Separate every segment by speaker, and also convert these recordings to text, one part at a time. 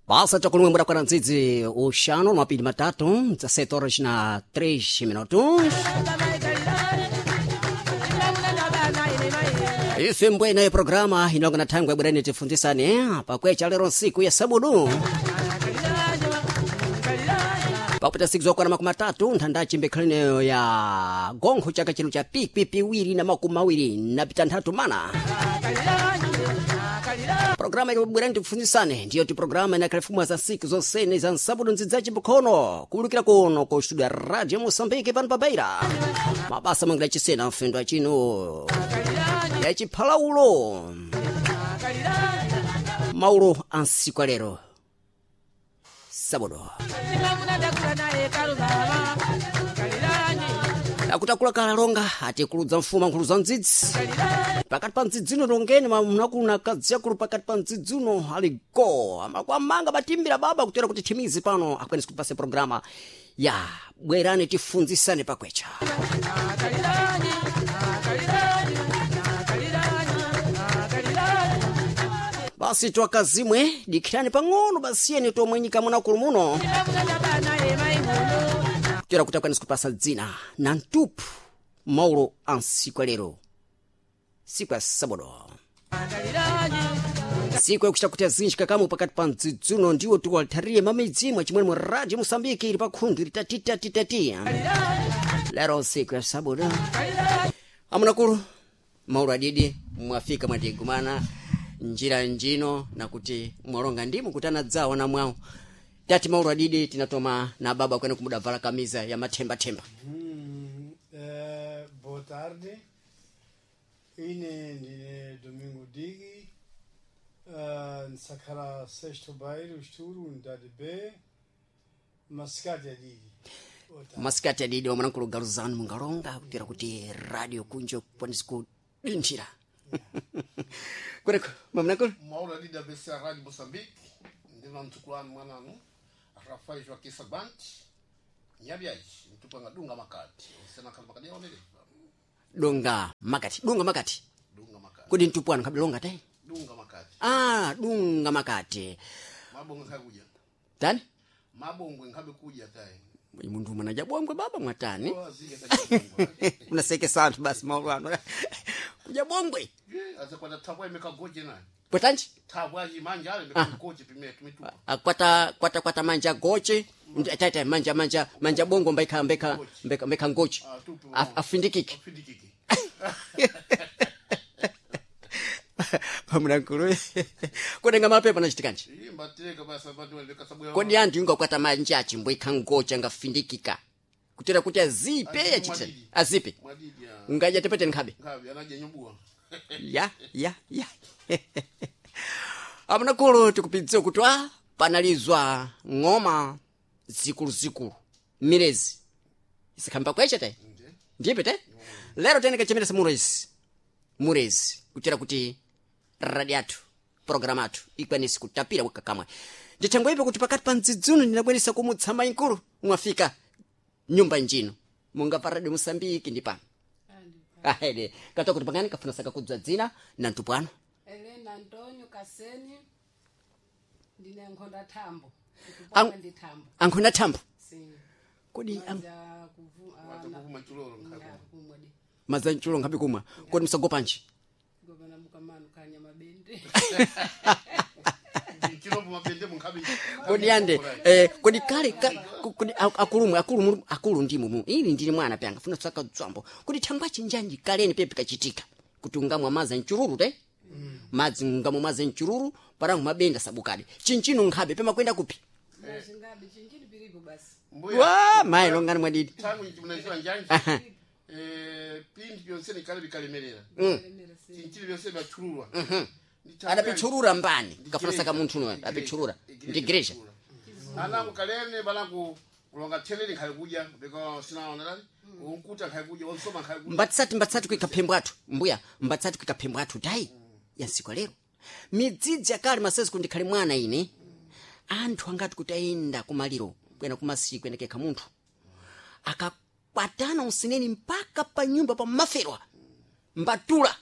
Speaker 1: Basa chakulumwe kwa ndzidzi uxanu mapili matatu 17 horas na 3 minutos. Ife mbwena ye programa inonga na thangwe bwerani tifunzisane pakwecha lero nsiku ya sabudu pakupita siku zokwana makumi atatu nthandaci mbekhalineyo ya gonkho chaka chino cha pikwi piwiri na makumi awiri napita nthatu mana. Programa ikubwerani tifunzisane ndiyo ti programa inakhalifumwa za nsiku zonsene za nsabudu ndzidzaci mbukhono kuwulukira kuno ku studio ya Radio Moçambique pano pa Beira, mabasa mangira chisena mfendo achino ya chiphalaulo maulo a nsiku alero sabudu akutakula kalalonga atikuludza mfuma nkhulu za mdzidzi pakati pa mdzidzino longeni mamnakulu kadziakulu pakati pa mdzidzino ali go amakwamanga batimbira baba kutera kuti thimizi pano akwanisi kupasa programa ya bwerani tifunzisane pakwecha. Basi twakazimwe dikhirani pang'ono basiyeni tomwenyika munakulu muno kutera kuti akwanisi kupasa dzina na mtupu maulo a nsiku alero, siku ya sabodo, siku yakuchita kuti azinji kakamu pakati pa mdzidzuno ndiwo tiwalithariye mamidzi mwachimwene mu Radio Moçambique ili pakhundu ili tatitatitati lero siku ya sabodo. Amunakulu maulo adidi mwafika mwatigumana njira njino nakuti mwalonga ndimu kutana dzawo na mwawo tati maulo adidi tinatoma na baba kwene kumudavala kamiza ya mathembathemba.
Speaker 2: Boa tarde. Ine ndine Domingo Digi. Nsakhala sexto bairro, Esturo, unidade B, Mascate Digi. Boa tarde.
Speaker 1: Masikati adidi wamwanakulu galuzanu mungalonga kutira kuti radio kunje kukwanisa kudinthira kweneko mamwanakulu.
Speaker 3: Mauro ali da BC Rádio Moçambique, ndina mtukulani mwananu, Rafael Joaquim Sabante, Nhabiais, mtupanga dunga makati, osena khala makati yaonele,
Speaker 1: Dunga makati, dunga makati.
Speaker 3: Dunga makati,
Speaker 1: Kodi mtupwanu khabilonga tai?
Speaker 3: Dunga makati,
Speaker 1: Ah, dunga makati.
Speaker 3: Mabongo nkhakuja,
Speaker 1: Tani
Speaker 3: mabongo nkhabe kuja tai,
Speaker 1: munthu mwanaja bongwe baba mwatani?
Speaker 3: Wazike tajibongo,
Speaker 1: Unasekesa anthu basi maulo ano kuja bongwe.
Speaker 3: azakwata tabwa imekagoje naye,
Speaker 1: Bwetanji
Speaker 3: tabwa manja ale imekagoje pime tumitupa,
Speaker 1: akwata kwata kwata manja goche taita manja manja manja bongo mbeka mbeka mbeka mbeka ngoche.
Speaker 3: Ah, tupu.
Speaker 1: Afindikike.
Speaker 3: Afindikike.
Speaker 1: Pamulankulu kudenga mapepa nachitikanji.
Speaker 3: Iye mbatireka basa bantu ndikasabuya.
Speaker 1: Kodi anthu ingakwata manja achimbwekha ngoche angafindikika kutera kuti azipe yachitani
Speaker 3: Mwadidi.
Speaker 1: azipe
Speaker 3: Mwadidi ya.
Speaker 1: ungadya tepete nkhabe.
Speaker 3: Nkhabe anaje nyubuwa.
Speaker 1: Ya ya ya amunakulu tikupidziwa kuti a panalizwa ng'oma zikuluzikulu mirezi isikhamba kweche te ndipe te lero tene kachemeresa murezi murezi kutera kuti radio athu programu athu ikwanisi kutapira wekakamwe ndithengo ipo kuti pakati pa mdzidzuno ndinabweresa kumutsa mayinkulu mwafika nyumba njino munga pa Radio Moçambique ndi pano ahede katoa kuti pangani kafuna saka kudzwa dzina na mtupwano.
Speaker 4: Helena Antonio Kaseni, ndine nkhonda thambo.
Speaker 1: Ang-
Speaker 4: Ndikupona ndi thambo.
Speaker 1: Ankhonda thambo.
Speaker 4: Si.
Speaker 1: Kodi
Speaker 4: Madza kuvu
Speaker 3: Wata kuvuma chulolo nkhabe.
Speaker 4: kumwa di.
Speaker 1: Madza mchulo nkhabe kumwa kodi msagopanji?
Speaker 4: Gobana mukamano kanya mabende.
Speaker 3: Chilombo mabende munkhabe.
Speaker 1: Kodi yande kodi kale kodi akulumwe akulu akulu ndimu mu ili ndili mwana pyanga funa saka dzwambo kodi thangwa chinjanji kaleni pepe kachitika kuti ungamwa madzi mchururu te madzi ungamwa madzi mchururu parangu mabenda sabukadi chinchino nkhabe pemakwenda kupi?
Speaker 4: Zingabe chinjini piripo basi.
Speaker 3: Mbuya.
Speaker 1: Wa mayi longani mwadidi.
Speaker 3: Tangu mnaiziwa njanji.
Speaker 1: Aha.
Speaker 3: Pindi byonse nikale bikalemerera.
Speaker 4: Lemera si.
Speaker 3: Chinchili byonse byachululwa.
Speaker 1: Adapitchurura mbani kafuna saka munthu uno adapitchurura ndi igreja.
Speaker 3: Anangu kalene balangu kulonga thelele nkhale kudya beka sinaona lali. Unkuta nkhale kudya onsoma nkhale kudya.
Speaker 1: Mbatsati mbatsati kuika phembo athu mbuya mbatsati kuika phembo athu tayi yansiku lero midzidzi yakale masezi kundikhale mwana ine anthu angati kuti ayenda kumaliro kuyenda kumasiku endekekha munthu akakwatana usineni mpaka pa nyumba pa maferwa mbatula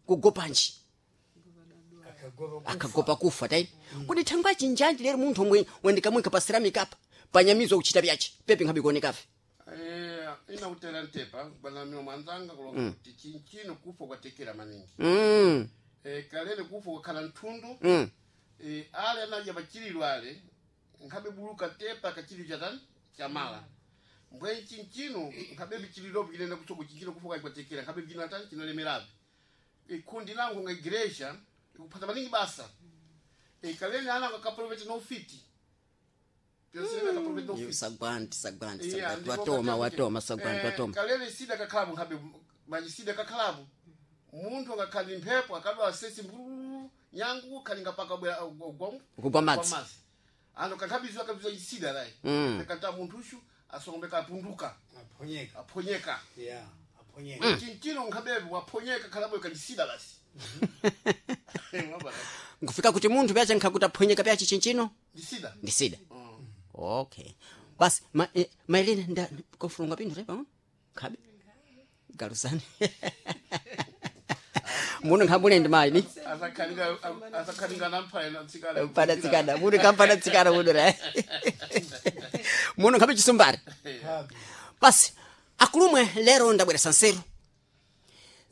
Speaker 1: kugopanji.
Speaker 2: Akagopa kufa.
Speaker 1: Akagopa kufa tai. Kuti thangwa chinjanji lero munthu omwe wendikamwika pa ceramic apa panyamizwa kuchita byachi pepe nkhabe kuonekafe.
Speaker 3: Ina kutera ntepa bwana mino mwanzanga kulonga kuti chinchino kufa kwatekera maningi. Kalele kufa kwakhala nthundu. Ale anadya pachililo ale nkhabe buluka tepa kachililo chatani chamala mbwe chinchino nkhabe bichililopo chilenda kutsoko chinchino kufa kwatekera nkhabe chinatani chinalemerabe. Kundi langu nga igreja ikuphata maningi basa. Kalele ana akaprofeti no fiti akaprofeti no fiti.
Speaker 1: Sagwanti sagwanti
Speaker 3: Yeah,
Speaker 1: sagwanti
Speaker 3: ndipo
Speaker 1: watoma
Speaker 3: katya
Speaker 1: watoma
Speaker 3: kuti,
Speaker 1: sagwanti watoma.
Speaker 3: Kalele sida kakhalabu nkhabe manji sida kakhalabu munthu angakhali mphepo akadwala sesi mbulu nyangu khalinga paka bwera ugwa
Speaker 1: Kugwa madzi.
Speaker 3: Ano kankhabizwa akabizwa isida layi. Kanta munthu ushu asongombe kapunduka.
Speaker 2: Aphonyeka.
Speaker 3: Aphonyeka.
Speaker 2: Yeah, aphonyeka.
Speaker 3: Chinchino nkhabebe waphonyeka khalabu kandisida basi. Wabala,
Speaker 1: Nkufika kuti munthu pyache nkhakuti aphonyeka pyachi chinchino
Speaker 3: ndisida.
Speaker 1: ndisida. Okay basi ma, maelena nda kofulunga pinthu te pang'ono nkhabe galusani muno nkhabule ndi mayi ni
Speaker 3: Asakhalinga asakhalinga namphaye natsikana.
Speaker 1: mpana tsikana muno kampana tsikana muno ra muno nkhabe chisumbari.
Speaker 2: Habi.
Speaker 1: Basi akulumwe lero ndabweresa nseru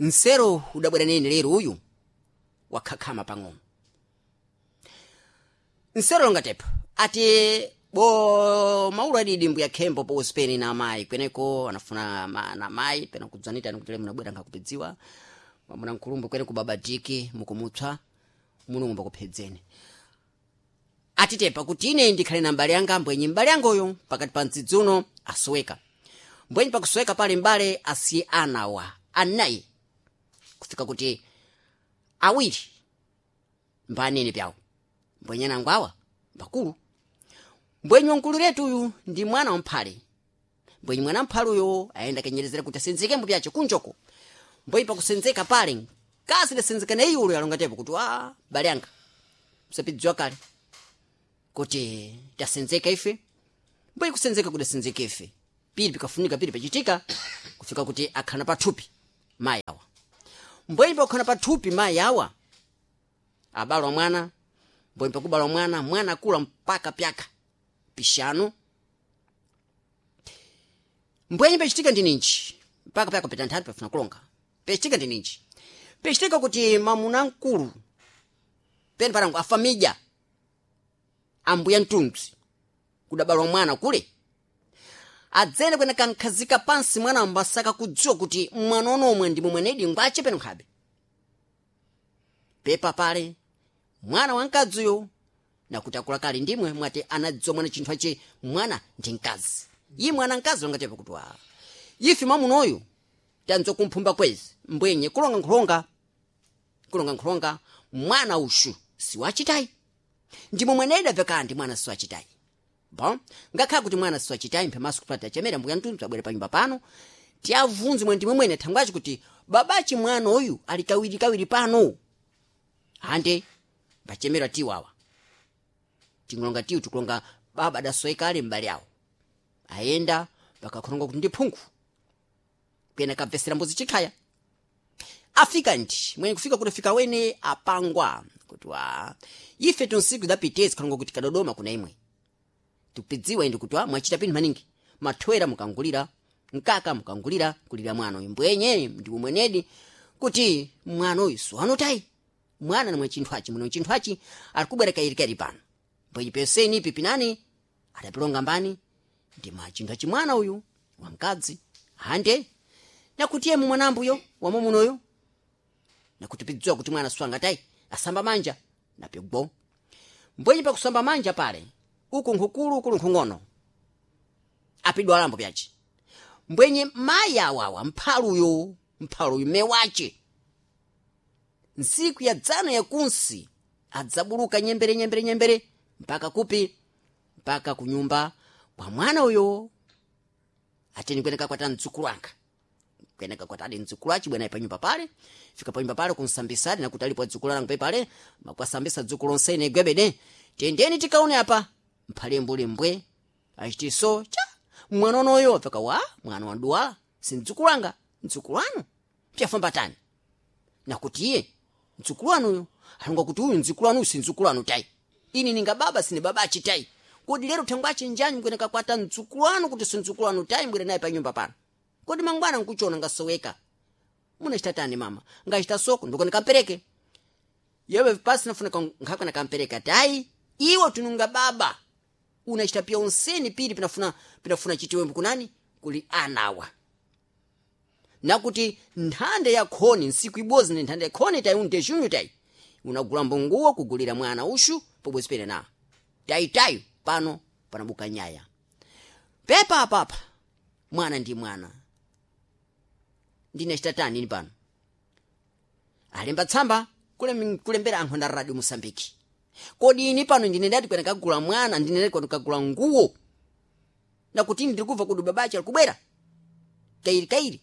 Speaker 1: nseru udabwera nini lero uyu wakhakhama pang'ono nseru longatepa ati bo maulu adidi mbuya khembo po usipeni na amayi kweneko anafuna na amayi pena kudzanita nikuti lero munabwera nkhakupidziwa mwamuna nkhulumbu kweneko babadiki mukumutswa mulungu mbakuphedzeni atitepa kuti ine ndikhale na mbale yanga mbwenyi mbale yangoyo pakati pa mdzidzi uno asoweka mbwenyi pakusoweka pale mbale asiye anawa anayi kufika kuti awiri mbanene pyawo mbwenyi anango awa mbakulu mbwenyi wankulu letu uyu ndi mwana wamphale mbwenyi mwana mphale uyo ayenda kenyerezera kuti asenzekembo pyace kunjoko mbwenyi pakusenzeka pale kasi dasenzeka na iyulo yalongatepo kuti wa bale yanga msapidziwa kale kuti tasenzeka ife mbwenyi kusenzeka kudasenzeka ife pili pikafunika pili pachitika kufika kuti akhana pathupi mayi awa mbwenyi pakukhana pathupi mayi awa abalwa mwana mbwenyi pakubalwa mwana mwana akula mpaka pyaka pishanu mbwenyi pachitika ndi ninji mpaka pyaka pita nthatu pafuna kulonga pachitika ndi ninji pachitika kuti mamuna mkulu pene parangu afamidya ambuya mtundzi kudabalwa mwana kule adzene kwene kankhazika pansi mwana ambasaka kudziwa kuti mwana onomwe ndi momwenedi ngwache peno nkhabe pepa pale mwana wamkadziyo nakuti akula kale ndimwe mwati anadziwa mwana chinthu ache mwana ndi mkazi yi mwana mkazi longatepa kuti wa ife mwamunoyu tanzo kumphumba kwezi mbwenye kulonga nkhulonga kulonga nkhulonga mwana ushu siwachitayi ndimo mwenedi abveka ndi mwana siwachitayi bon ngakhala kuti mwana siwachitayi mphemaso kupata chemera mbuya mtundu abwere panyumba pano tiyavunze mwe ndimwe mwene thangwachi kuti babachi mwana uyu ali kawiri kawiri pano hande mbachemera tiwawa tingulonga tiwu tikulonga baba adasoeka ali m'bale awo ayenda pakakhulonga kuti ndi phungu kuyena kabvesera mbuzi chikhaya afika ndi mwenye kufika kuti fika wene apangwa kuti wa ife tunsiku idapitezi khulonga kuti kadodoma kuna imwe tikupidziwa indi kuti wa mwachita pinthu maningi mathwera mukangulira mkaka mukangulira kulira mwana uyu mbwenye ndi umwenedi kuti mwana uyu siwanotayi mwana namwe chinthu achi mwene chinthu achi ali kubwera kairikairi pano mbwenye peseni pipinani adapilonga mbani ndi mwa chinthu achi mwana uyu wamkazi hande nakuti yemu mwanambuyo wamwamunoyo nakuti pidziwa kuti mwana siwangatayi asamba manja napigwo mbwenye pakusamba manja pale uku nkhukulu ukulu nkhung'ono apidwa alambo pyachi mbwenye mayi awawa mphaluyo mphaluyo mewache ntsiku ya dzana yakunsi adzabuluka nyembere nyembere nyembere mpaka kupi mpaka kunyumba kwa mwana uyo ateni kweneka kwata mdzukulu anga kweneka kwata adi mdzukulu achi bwena panyumba pale fika panyumba pale kunsambisadi nakuti alipo adzukulu alangu pepale makwasambisa dzukulu onsene gwebede tendeni tikaone apa mphale mbuli mbwe achitiso cha mwana unoyo apfeka wa mwana waduwala si mdzukulu anga mdzukulu anu pyafamba tani nakuti iye mdzukulu wanuyo Alonga kuti uyu nzukulu anu si nzukulu anu tayi, ini ninga baba sine baba achitayi. Kodi lero thangwe achinjani mbwene kakwata nzukulu anu kuti si nzukulu anu tayi, mbwere naye pa nyumba pano? Kodi mangwana nkuchona ngasoweka, munachita tani mama? Ngachita soko ndiko nikampereke yewe pasi nafunika nkhakwe nakampereka tayi. Iwe tununga baba unachita pia unseni pili pinafuna chitiwembu kunani kuli anawa nakuti nthanda ya khoni nsiku ibodzi ni nthanda ya khoni tayi unde junho tayi unagula mbonguwo kugulira mwana ushu pobwezi pene na tayitayo pano panabuka nyaya pepa apapa mwana ndi mwana ndinachita tani ini pano alemba tsamba kulembera anthu na radio Mosambiki. Kodi ini pano ndine ndati kwena kagula mwana, ndine ndati kwena kagula nguwo, nakuti ndiri kubva kuti babachi ali kubwera kairi kairi.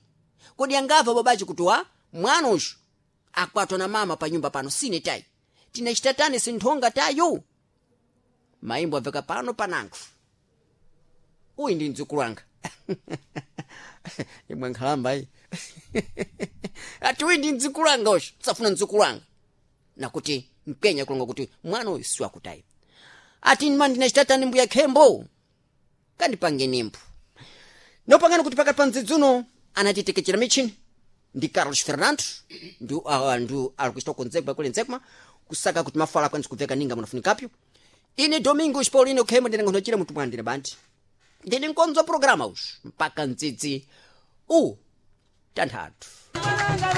Speaker 1: Kodi angamva babachi kuti wa mwana uyu akwatwa na mama pa nyumba pano sine tayi, tinachita tani sinthonga tayo? Maimbo abveka pano panango, uyu ndi mdzukulu wanga imwe nkhalamba iyi ati uyu ndi mdzukulu wanga uyu safuna mdzukulu wanga nakuti mpenya kulonga kuti mwana uyu siwakutayi. Ati ma ndinachitatani mbuya khembo kandipange nimbo nopangana kuti pakati pa mdzidzi uno anatitekechera michini ndi Carlos Fernando ndi ndi ali kuchita konzekwa kule nzekuma kusaka kuti mafala akwanise kubveka ninga munafunikapyo. Ine Domingos Paulino Khembo ndine ngonochira mutu mwandine bandi ndine nkonzo programa uyu mpaka mdzidzi u tanthatu.